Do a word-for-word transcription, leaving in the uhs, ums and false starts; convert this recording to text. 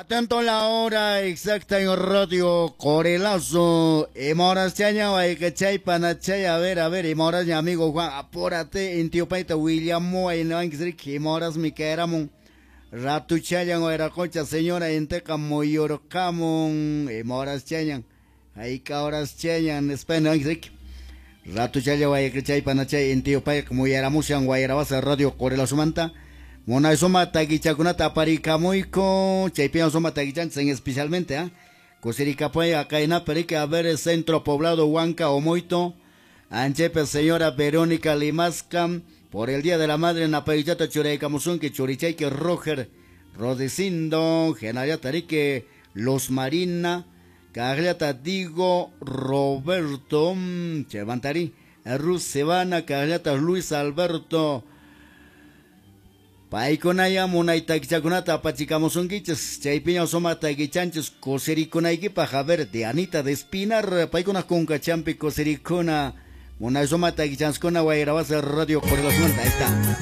Atento la hora exacta en Radio Corelazo. Ima chaña chay panachay. A ver, a ver, ima horas amigo Juan, apúrate, intiopaita William ima horas mi caeramun. Ratuchallan wayraqucha señora inteqa muyurqamun. Ima horas chañan. Hayka horas chañan España riki. Ratuchalla wayqichay panachay intiyupayqa muyaramushan wayrawasa Radio Corelazomanta. Munay suma takichakunata aparikamuyku, chaypiwan suma takichanchis en especialmente, ¿ah? Kusirikapay akaynapi riki, a ver, Centro Poblado Huanca Omoito, Anchepe señora Verónica Limasca, por el Día de la Madre napaychata churaykamusunki, churichayki Roger Rodecindo, Genariata riki, Los Marina, Kaqllata Digo Roberto, Chevantari, Ruth Sebana, Kaqllata Luis Alberto, Paykunaya munay takichakunata apachikamusunkichis, chaypiña suma takichanchis kusirikunaykipaq, a ver, Dianita de Espinar, paykuna kunkachampi kusirikuna, munay suma takichanskuna wayrawasa Radio Corelazomanta, ahí está.